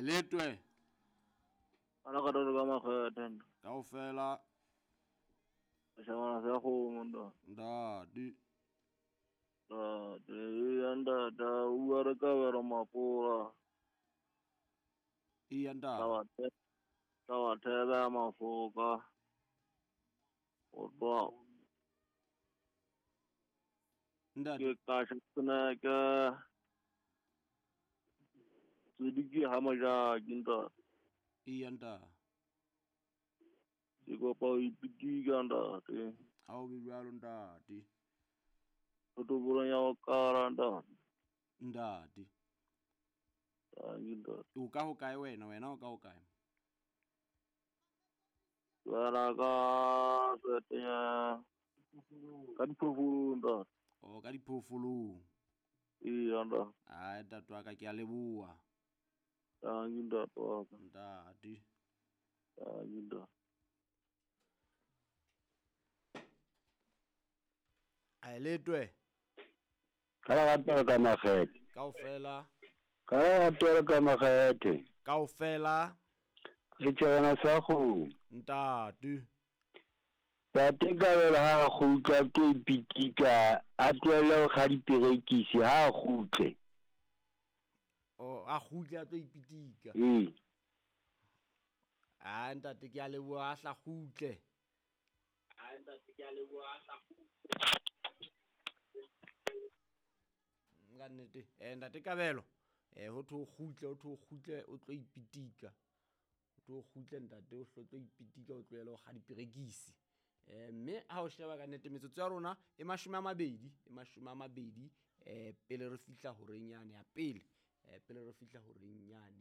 Letwe. Ana ka tolo ka makgethe nda. Kaofela. Shabana sa kgomo nda. Ntate. Ntate, ya ntate, o re ka bera mapora. Iya ntate. Taba thebe ya mafoka. O tloha Ntate. Ke ka seneke. Tsidiki ha majaki ntate. Iya ntate. Ke kopa ho ipitika ntate. Ha o be jwalo ntate. Totobolong ya ho kala ntate. Ntate. Tanki ntate. O ka ho kae wena? Wena o ka ho kae? Wena ka setenya ka diphoofolong ntate. O ka diphoofolong. Iya ntate. Ai ntate wa ka, ke a leboha. Tanki ntate wa ka. Ntate. Tanki ntate. Ai letwe. Ka ratela ka makgethe. Kaofela. Ka ratela ka makgethe. Kaofela. Re tjhebana sa kgomo. Ntate. Ntate Kabelo ha a kgutla ke ipitika, a tlohelle ho kga diperekisi ha a kgutle. Oh, a kgutle a tlo ipitika. Ee. Ah ntate ke a leboha a hla kgutle. Ah ntate ke a leboha a hla kgutle. Ka nnete, ntate Kabelo, ho thwe o kgutle, ho thwe o kgutle o tlo ipitika. O tlo kgutle ntate o tlo ipitika o tlohele ho kga diperekisi. Mme ha o sheba ka nnete metsotso ya rona e 20, e 20, pele re fihla horeng yane ya pele, pele re fihla horeng yane.